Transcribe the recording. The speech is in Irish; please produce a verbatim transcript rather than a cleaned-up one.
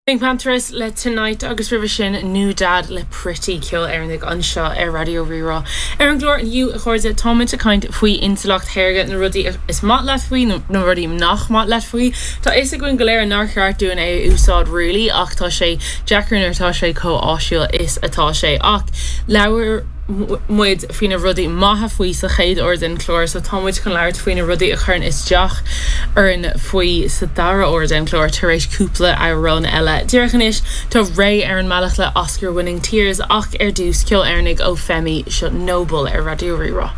PinkPantheress le Tonight agus roimhe sin NewDad le Pretty ceol Éireannach anseo ar Raidió Rí-Rá. Ar an gclár inniu a chairde táimid ag caint faoi intleacht shaorga na rudaí is maith leat faoi na rudaí nach maith leat faoi. Tá a fhios againn go léir nár cheart dúinn é a úsáid really ach tá sé deacair nuair atá sé chomh áisiúil is atá sé ach labhair muid faoi na rudaí maithe faoi sa chéad uair den chlár, so tá muid chun labhairt faoi na rudaí a chuireann isteach orainn faoi sa dara huair den chlár tar éis cúpla amhrán eile. Díreach anois tá Raye ar an mbealach le Oscar Winning Tears ach ar dtús ceol Éireannach ó Femi seo Noble ar Raidió Rí-Rá.